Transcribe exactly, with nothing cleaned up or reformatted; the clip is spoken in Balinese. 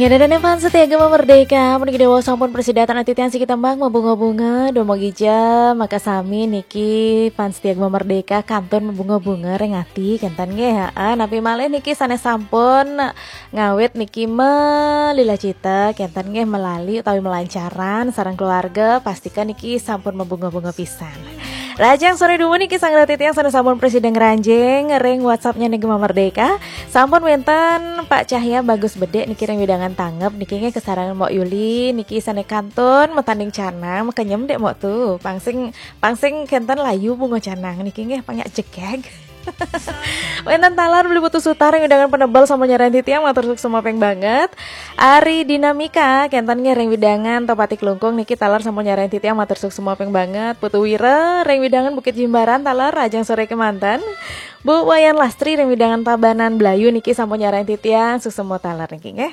Ngedadane fans setia Gema Merdeka, puniki dewa sampun prasida titiang siki tembang mabunga-bunga, dumogi ja maka sami niki fans setia Gema Merdeka kantun mabunga-bunga ring ati kenten nggih, heeh, napi malih niki sane sampun ngawit niki malila cita kenten nggih, melali utawi melancaran sareng keluarga, pastika niki sampun mabunga-bunga pisan. Rahajeng sore dumun niki sareng titiang sane sampun prasida ngranjing ring WhatsApp-nya niki Gema Merdeka. Sampun wenten Pak Cahya Bagus Bedik niki ring wewidangan Tanggep niki nggih, kasarengin Mbok Yuli niki sane kantun matanding canang, makenyem Dek Mbok tu. Pang sing, pang sing kenten layu bunga canang niki nggih, pang nyak jegeg. Wenten taler Beli Putu Sutar ring wewidangan Penebel sampun nyarengin titiang, matur suksma ping banget. Ari Dinamika kenten nggih ring wewidangan Tohpati Klungkung niki taler sampun nyarengin titiang, matur suksma ping banget. Putu Wira ring wewidangan Bukit Jimbaran taler, rahajeng sore kemanten. Bu Wayan Lastri ring wewidangan Tabanan Blayu niki sampun nyarengin titiang, suksma taler niki nggih.